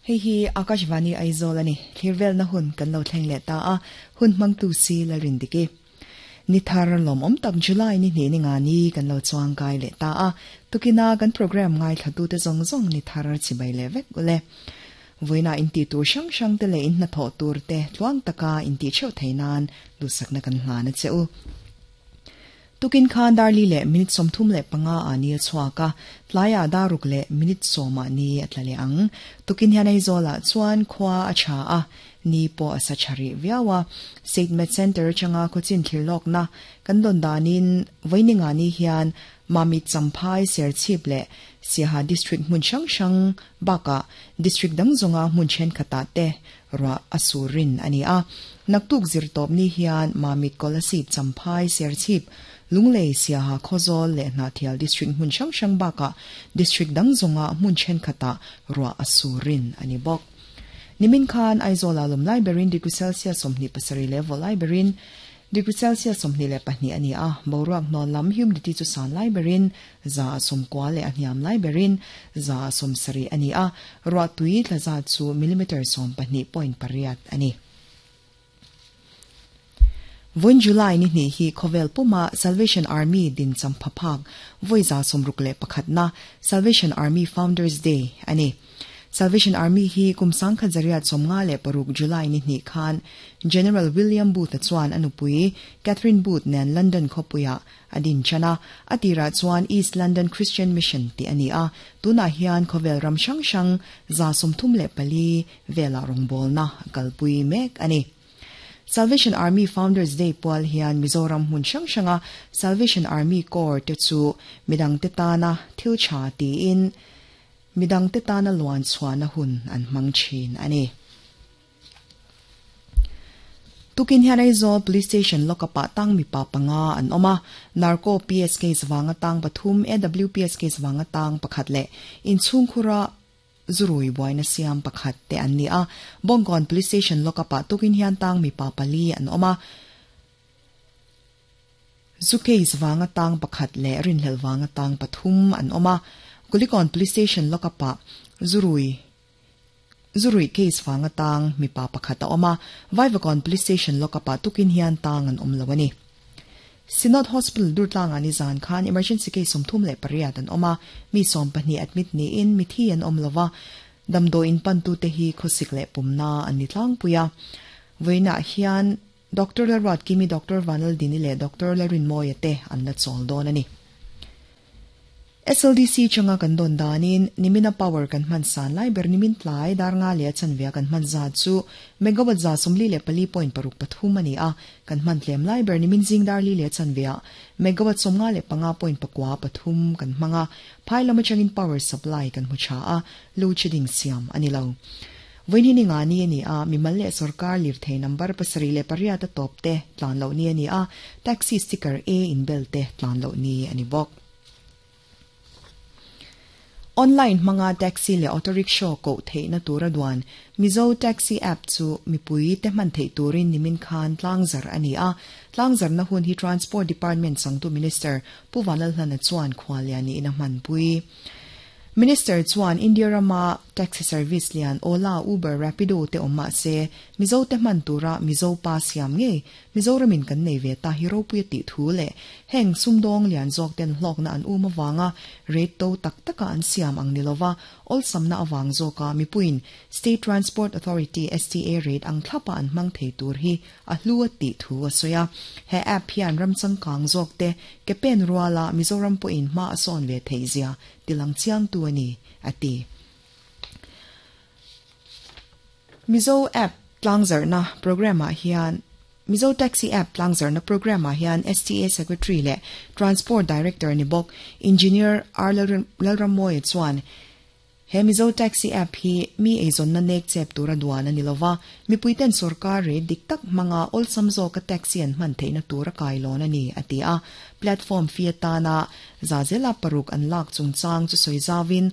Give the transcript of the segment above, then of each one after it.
Hei hi Akashvani Aizawl a ni. Thlir velna hun kan lo thleng leh ta a, hun hmangtu si Lalrindiki. Ni thar lawmawm tak July ni hnih ni nga ni kan lo chuang kai leh ta a, tukina kan programme ngaithlatute zawng zawng ni thar chibai leh vek ule. Vawiina intih tur hrang hrang te leh in hnathawh tur te tluang taka intih theuh thei nan duhsakna kan hlan a che u. Tukin khan Darli leh minute 35 ah ni a chhuak a, tlaiah daruk leh minute 10 ah ni a tla leh ang. Tukin hian Aizawlah chuan khua a tha a, ni pawh a sa tha rih viau a. State Med Centre atanga khawchin thlir lawkna kan dawn danin vawininga ni hian Mamit Champhai Serchhip leh Siaha District hmun hrang hrang bakah District dang zawnga hmun thenkhatah te ruah a sur rin a ni a. Naktuk zirtawp ni hian Mamit Kolasib Champhai Serchhip Lunglei Siaha Khawzawl leh Hnahthial District hmun hrang hrang bakah District dang zawnga hmun thenkhatah ruah a sur rin a ni bawk. Nimin khan Aizawl ah lawm lai berin degree Celsius 27 leh vawh lai berin degree Celsius 22 a ni a, boruak hnawl lam humidity chu san lai berin 90 leh a hniam lai berin 70 a ni a, ruah tui tla zat chu millimeter 12.8 a ni. Vawiin July ni hnih hi khawvel puma Salvation Army din champha phak vawi 61 na Salvation Army Founders Day a ni. Salvation Army hi kum 1956 July ni hnih khan General William Booth-a chuan a nupui Catherine Booth nen London khawpuiah a din chan a, a tirah chuan East London Christian Mission tih a ni a, tunah hian khawvel ram hrang hrang 34 velah rawngbawlna a kalpui mek a ni. Salvation Army Founders Day pual hian Mizoram hmun hrang hranga Salvation Army Corps te chu midangte tana thil tha tiin midangte tana luan chhuahna hun an hmang thin a ni. Tukin hian Aizawl Police Station lockup ah tang mipa panga an awm a, Narco PS case vanga tang pathum, AWPS case vanga tang pakhat leh inchhungkhura zurui buaina siam pakhat te an ni a. Bawngkawn Police Station lockup ah tukin hian tang mipa pali an awm a, zu case vanga tang pakhat leh rinhlelh vanga tang pathum an awm a. Kulikawn Police Station lockup ah zurui Zurui case vanga tang mipa pakhat a awm a, Vaivakawn Police Station lockup ah tukin hian tang an awm lo a ni. Synod Hospital Durtlangah nizan khan emergency case 38 an awm a, mi 12 admit niin mithi an awm lo va, damdawiin pantute hi khawsik leh pumna an ni tlangpui a. Vawiinah hian Doctor Lalruatkimi, Doctor Vanlaldini leh Doctor Lalrinmawia te an la chawl dawn a ni. SLDC changa kan dawn danin nimina power kan hman san lai ber nimin tlai dar nga leh a chanve a kan hman zat chu megawatt 44.63 a ni a, kan hman tlem lai ber nimin zing dar li leh a chanve ah megawatt 55.93 kan hmang a, phai lam atangin power supply kan hmu tha a, load shedding siam a ni lo. Vawiin hi ni nga ni a ni a, mimal leh sorkar lirthei number 78 a tawp te tlan loh ni a ni a, taxi sticker A inbel te tlan loh ni a ni bawk. Online hmanga taxi leh auto rickshaw koh theihna tura duan Mizo Taxi App chu mipui te hman theih turin nimin khan tlangzar a ni a. Tlangzarna hun hi Transport Department changtu Minister Pu Vanlalhlana chuan khuallian niin a hmanpui. Minister chuan India rama taxi service lian Ola, Uber, Rapido te awm mah se Mizo te hman tura Mizo pa siam ngei Mizoramin kan nei ve ta hi ropui a tih thu leh heng sumdawng lian zawk ten hlawkna an um avanga rate to tak taka an siam ang ni lova awlsamna avang zawka mipuiin State Transport Authority, STA, rate ang thlapa an hmang thei tur hi a hlu a tih thu a sawi a. He app hian ram changkang zawk te ke pen ruala Mizoram pawhin hma a sawn ve theih zia tilang chiangtu a ni, a ti. Mizo app tlangzarhna programme ah hian Mizo Taxi app tlangzarhna programme ah hian STA Secretary leh Transport Director ni bawk Engineer R Lalrammawia chuan he Mizo Taxi app hi mi eizawnna nek chep tura duan a ni lova, mipuiten sorkar rate dik tak hmanga awlsam zawka taxi an hman theihna tura kailawn a ni, a ti a. Platform fee atana za zela paruk an lak chungchang chu sawi zauin,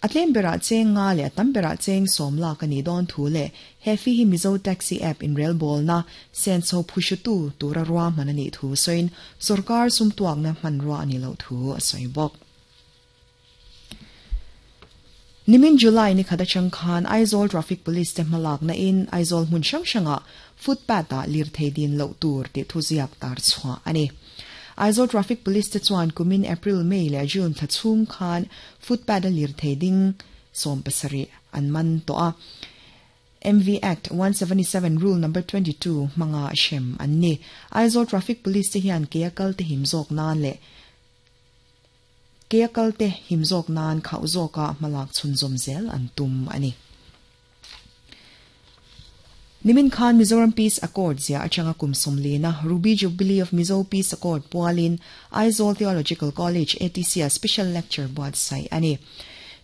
A tlem berah cheng nga leh a tam berah cheng 10 lak a nih dawn thu leh he fee hi Mizo Taxi app inrelbawlna senso phuhrutu tura ruahman a nih thu sawiin sorkar sumtuakna hmanrua a nih loh thu a sawi bawk. Nimin July ni khat atang khan Aizawl Traffic Police te hmalakna in Aizawl hmun hrang hrangah footpath ah lirthei din loh tur tih thuziak tar chhuah a ni. Aizawl Traffic Police te chuan kumin April, May leh June thla chhung khan footpath a lirthei ding 70 an man tawh a. MV Act 177 Rule Number 22 hmanga hrem an ni. Aizawl Traffic Police te hian ke a kal te him zawk nan leh Ke a kal te him zawk nan khauh zawka hmalak chhunzawm zel an tum a ni. Nimin khan Mizoram Peace Accord ziah atanga kum sawmlina Ruby Jubilee of Mizo Peace Accord pualin Aizawl Theological College, ATC, ah Special Lecture buatsaih a ni.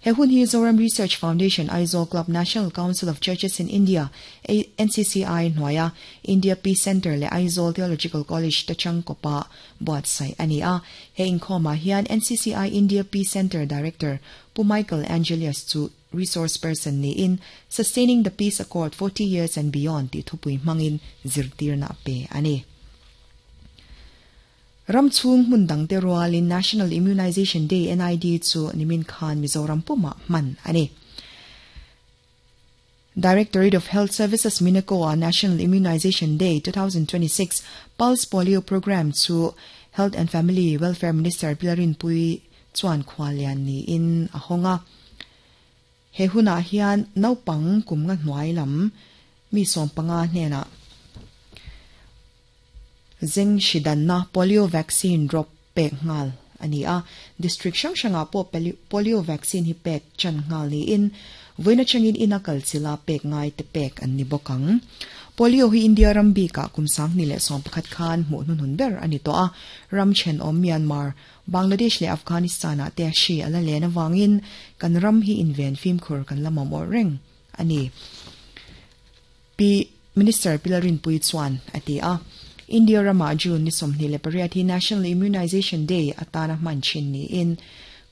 He hun hi Zoram Research Foundation Aizawl Club National Council of Churches in India, NCCI, hnuaia India Peace Centre leh Aizawl Theological College te changkawpa buatsaih a ni a. He inkhawmah hian NCCI India Peace Centre Director Pu Michael Angelius chu resource person niin Sustaining the Peace Accord 40 Years and Beyond tih thupui hmangin zirtirna a pe a ni. Ram chhung hmun dangte rualin National Immunization Day, NID, chu nimin khan Mizoram pumah hman a ni. Directorate of Health Services Minaco-a National Immunization Day 2026 Pulse Polio Programme chu Health and Family Welfare Minister Pi Rinpuii chuan khuallian niin a hawng a. He hunah hian naupang kum nga hnuai lam mi 15 hnenah zeng hri danna polio vaccine drop pek nghal a ni a. District hrang hrangah pawh polio vaccine hi pek chan nghal niin vawiin atangin ina kal chila pek ngai te pek an ni bawk ang. Polio hi India ram bikah kum 2011 khan hmuh hnuhnun ber a ni tawh a, ram thenawm Myanmar, Bangladesh leh Afghanistan-ah te hri a la len avangin kan ram hi inven fimkhur kan la mamawh reng a ni. Pi Minister Pi Lalrinpuii chuan a ti a. India ramah June ni 28 hi National Immunization Day atana hman thin niin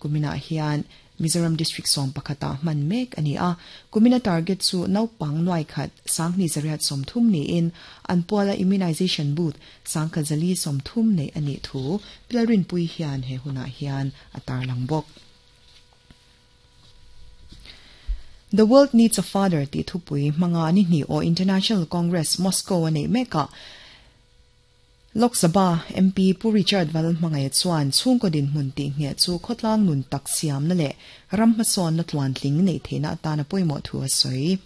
kuminah hian Mizoram District 11 ah hman mek a ni a. Kumina target chu naupang nuai khat 2830 niin an puala immunization booth 1430 neih a nih thu Pi Lalrinpuii hian he hunah hian a tarlang bawk. The World Needs a Father tih thupui hmanga ni hnih aw International Congress Moscow a neih mekah Lok Sabha MP Pu Richard Valhmangaia chuan chhungkaw dinhmun tih ngheh chu khawtlang nun tak siamna leh ram hmasawnna tluantling neih theihna atana pawimawh thu a sawi.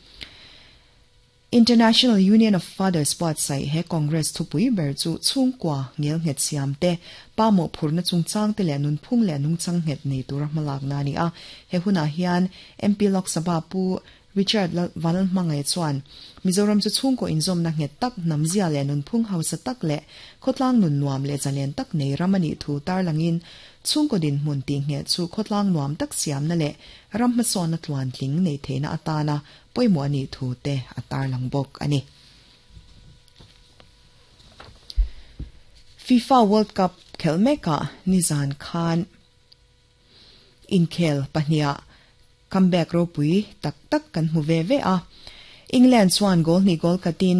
International Union of Fathers buatsaih he Congress thupui ber chu chhungkua ngelnghet siam te, pa mawhphurhna chungchang te leh nunphung leh nungchang nghet nei tura hmalakna a ni a. He hunah hian MP Lok Sabha Pu Richard Vanlalhmangaih chuan Mizoram chu chhungkaw inzawmna nghet tak, hnamzia leh nunphung hausa tak leh khawtlang nun nuam leh zalen tak nei ram a nih thu tarlangin chhungkaw dinhmun tihngheh chu khawtlang nuam tak siamna leh ram hmasawnna tluantling neih theihna atana pawimawh a nih thu te a tarlang bawk a ni. FIFA World Cup khelh mekah nizan khan inkhel pahniha comeback ropui tak tak kan hmu ve ve a. England chuan goal hnih goal khatin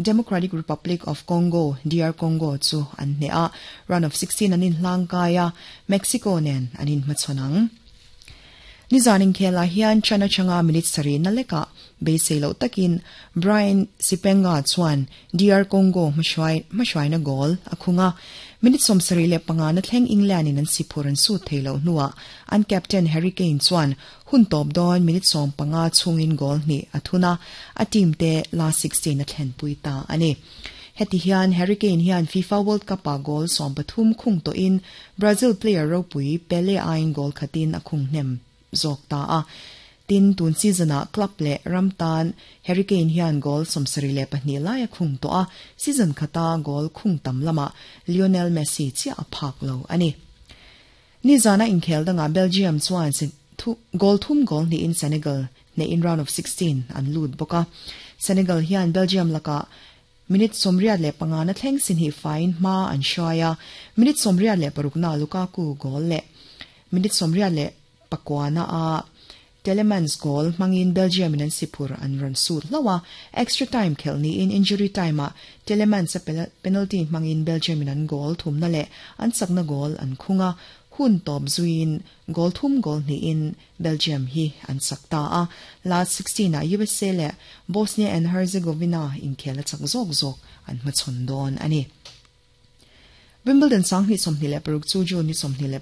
Democratic Republic of Congo, DR Congo, chu an hneh a, round of 16 an inhlang kai a, Mexico nen an inhmachhawn ang. Nizan inkhelah hian chan atanga minute sarih na lekah beisei loh takin Brian Sipenga chuan DR Congo hmahruaina goal a khung a. Minute 75 na thleng England in an siphur an sut thei loh hnuah an captain Harry Kane chuan hun tawp dawn minute 15 chhungin goal hnih a thun a, a team te last 16 a thlenpui ta a ni. Heti hian Harry Kane hian FIFA World Cup-ah goal 13 khung tawhin Brazil player ropui Pele aiin goal khatin a khung hnem zawk ta a. Tin, tun season-ah club leh ram tan Harry Kane hian goal 72 lai a khung tawh a, season khata goal khung tam lamah Lionel Messi chiah a phak lo a ni. Nizana inkhel dangah Belgium chuan goal thum goal hnihin Senegal hneh in round of 16 an lut bawk a. Senegal hian Belgium lakah Minute 85 na thleng si hnih faiin hma an hruai a, minute 86 na Lukaku goal leh minute 89 na a Tielemans goal hmangin Belgium in an siphur an rawn sut hlauh a, extra time khelh niin injury time ah Tielemans a penalty hmangin Belgium in an goal thumna leh an chakna goal an khung a. Hun tawp zuiin goal thum goal hnihin Belgium hi an chak ta a, last 16 ah usa leh Bosnia and Herzegovina inkhel a chak zawk zawk an hmachhawn dawn a ni. Wimbledon 2026 chu June ni 29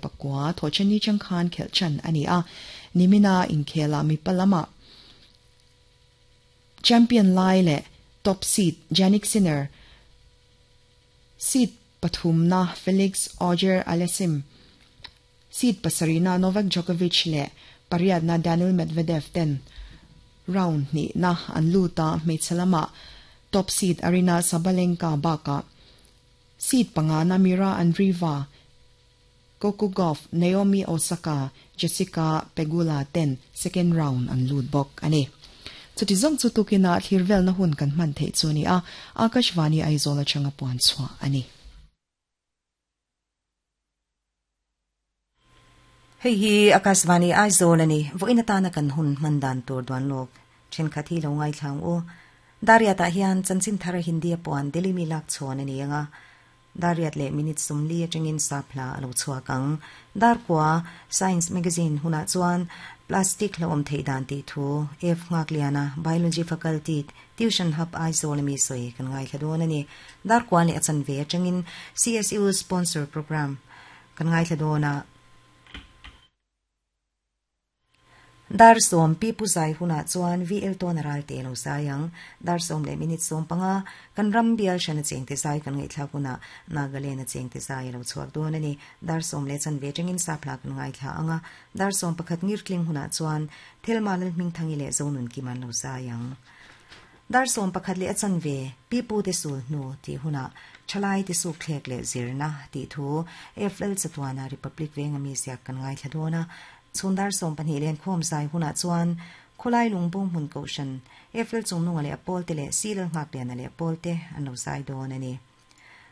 Thawhṭanni chang khan khelh ṭan a ni a, nimina inkhela mipa lamah champion lai leh top seed Jannik Sinner, seed pathumna Felix Auger-Aliassime, seed pasarihna Novak Djokovic leh pariatna Daniil Medvedev ten round hnihna an lut a, hmeichhe lamah top seed Aryna Sabalenka bakah seed pangana Mira Andreeva, Coco Gauff, Naomi Osaka, Jessica Pegula ten second round an lut bawk a ni. Chuti zawng chu tukinah thlir velna hun kan hman theih chu a ni a, Akashvani Aizawl atanga puan chhuah a ni. Hei hi Akashvani Aizawl a ni. Vawiin atana kan hun hman dan tur duan lawk thenkhat hi lo ngaithla ang u. Dariat ah hian chanchin thar Hindi a puan Delhi mi lak chhawn a ni ang a. Dariat leh minute 40 atangin sap hla a lo chhuak ang. Darkua Science Magazine hunah chuan Plastic hlauhawm theih dan tih thu F Nghakliana Biology Faculty Tuition Hub Aizawl a mi sawi kan ngaithla dawn a ni. Darkua leh a chanve atangin CSU Sponsor Programme kan ngaithla dawn a. Dar sawm Pi Pu Zai hunah chuan VL Tawna Ralte a lo zai ang. Dar sawm leh minute 15 kan ram bial hran a chengte zai kan ngaihthlak hunah Nagaland a chengte zai a lo chhuak dawn a ni. Dar sawm leh chanve atangin Sapla kan ngaithla ang a. Dar 11 ngirtling hunah chuan Thelma Lalhmingthangi leh Zonunkim an lo zai ang. Dar 11 leh a chanve Pi Pu te sul hnu tih hunah Thalai te suk thlek leh zirna tih thu FL Chatuana Republic venga mi ziak kan ngaithla dawn a. Chhun dar 12 len khawm zai hunah chuan Khawlai Lungbung hmun kohhran FL Chungnunga leh a pawlte leh Silal Nghakliana leh a pawlte an lo zai dawn a ni.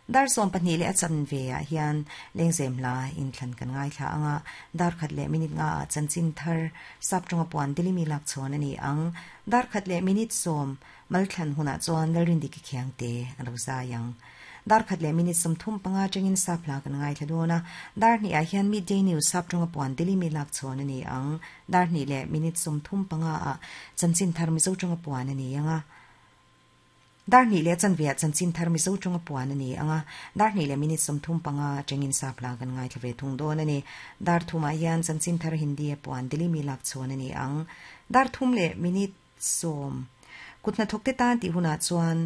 Dar 12 leh a chanve ah hian Lengzem hla inthlan kan ngaithla ang a, dar khat leh minute nga ah chanchin thar sap tawnga puan Delimi lak chhawn a ni ang. Dar khat leh minute 10 malthlan hunah chuan Lalrindiki Khiangte a lo zai ang. Dar khat leh minute 35 atangin sap hla kan ngaithla dawn a, dar hnih ah hian Midday News sap tawnga puan Delimi lak chhawn a ni ang. Dar hnih leh minute 35 ah chanchin thar Mizo tawnga puan a ni ang a. Dar hnih leh chanve ah chanchin thar Mizo tawnga puan a ni ang a, dar hnih leh minute 35 atangin sap hla kan ngaithla ve thung dawn a ni. Dar thum ah hian chanchin thar Hindi a puan Delhi mi lak chhawn a ni ang. Dar thum leh minute 10 kut hnathawk te tan tih hunah chuan.